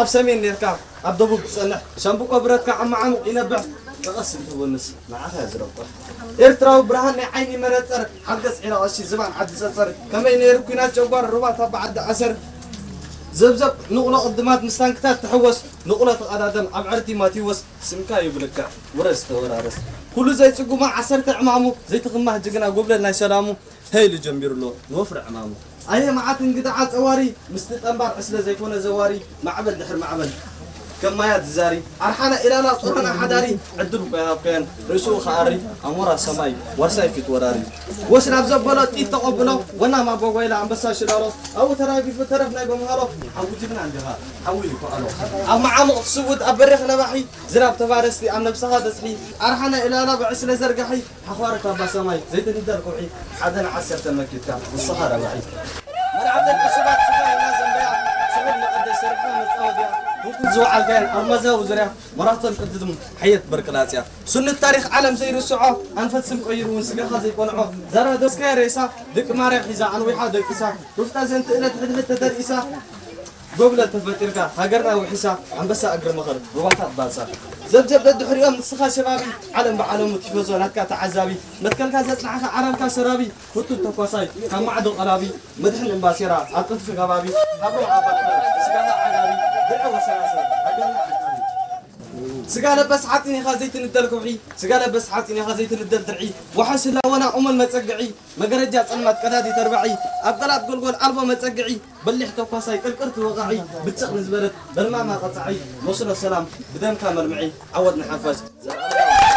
ኣብ ሰሜን ኔርካ ኣብ ደቡብ ትጸንሕ፣ ሻምብቆ ብረትካ ኣብ መዓሙቕ ይነብሕ። ጠቐስ እንትብልስ ንዓኻ እያ ዝረብሕ። ኤርትራዊ ብርሃን ናይ ዓይኒ መነጸር፣ ሓገዝ ዒራ ቀሺ ዝባን ዓዲ ጸጸር፣ ከመይ ነይሩ ኲናት ጨጓር ሩባ ታባ ዓዲ ዓሰር። ዘብዘብ ንቑሎ ቅድማት ምስ ታንክታት ትሕወስ፣ ንቑሎ ተቐዳደም ኣብ ዕርቲ ማቴዎስ፣ ስምካ ይብልካ ውረስ ተወራረስ። ኩሉ ዘይጽጉማ ዓሰርተ ዕማሙ፣ ዘይትኽማህ ጅግና ጎብለል ናይ ሰላሙ፣ ተይሉ ጀሚሩ ኣሎ ንወፍሪ ዕማሙ። ኣየ መዓት እንግዳ ዓጸዋሪ፣ ምስቲ ጠንባር ዕስለ ዘይኮነ ዘዋሪ፣ ማዕበል ድሕሪ ማዕበል ከም ማያት ዝዛሪ፣ ኣርሓና ኢላላ ጾሮና ሓዳሪ፣ ዕድል እኮ ይሃብካዮን ርእሱ ክኣሪ፣ ኣሞራ ሰማይ ዋርሳይ ፊት ወራሪ። ወስ ናብ ዘበሎ ጥይት ተቐብሎ፣ ወና ማቦጓይላ ኣንበሳ ሽላሎ፣ ኣብኡ ተራጊፉ ተረፍ ናይ በምሃሎ፣ ሓዊ ጅግና እንዲኻ ሓዊ ይከኣሎ። ኣብ መዓሙቕ ትስውድ ኣብ በሪኽ ነባሒ፣ ዝናብ ተባረስቲ ኣብ ነብስኻ ዘጽሒ፣ ኣርሓና ኢላላ ብዕስለ ዘርጋሒ፣ ሓዃረ ካባ ሰማይ ዘይትንደር ኩሒ፣ ሓደ ንዓሰርተ መኪትካ ንስኻ ረባሒ። መርዓተን ዕሱባት ስጋ ኢልና ዘንበያ፣ ስሑል መቐደስ ሰሪሕና መጻወድያ፣ ህንኩት ዝወዓልካየን ኣብ መዛዊ ዙርያ፣ መራቶን ቅድድም ሓየት በርቅላጽያ። ስኑት ታሪኽ ዓለም ዘይርስዖ፣ ኣንፈት ስም ቀይሩ እውን ስጋኻ ዘይቆንዖ፣ ዛራ ደስካየ ሬሳ፣ ደቂ ማርያ ሒዛ ኣንዊሓ ደቂሳ፣ ሩፍታ ዘንትእለት ሕድሕድ ተደርኢሳ፣ ጎብለል ተፈጢርካ ሃገርና ውሒሳ፣ ኣንበሳ እግሪ መኸር ሩባታት ባልሳ። ዘብዘብ ደድሕሪኦም ንስኻ ሸባቢ፣ ዓለም ብዓለሙ ቲፎዞ ናትካ ተዓዛቢ፣ መትከልካ ዘጽናዕካ ዓረርካ ሰራቢ፣ ፍቱን ተኳሳይ ካብ ማዕዶ ቀራቢ፣ መድሕን እምባሴራ ኣብ ጥንቲ ከባቢ፣ ሃብሮም ኣባትና ስጋኻ ዓጋቢ፣ ድዒ ወሰናስን ሃገርና ዓቃቢ። ስጋ ለበስ ሓፂን ኢኻ ዘይትንደል ከውሒ፣ ስጋ ለበስ ሓፂን ኢኻ ዘይትንደል ድርዒ፣ ዋሕስ ህላወና እሙን መፀግዒ፣ መገረጃ ጸልማት ቀዳዲ ተርባዒ፣ ኣብ ቀላት ጎልጎል ኣልቦ መጸግዒ፣ በሊሕ ተኳሳይ ቅርቅርቲ ወቓዒ፣ ብጭቕ ንዝበለት በልማማ ቀጻዒ፣ መስሎ ሰላም ብደምካ መልምዒ፣ ዓወት ንሓፋሽ።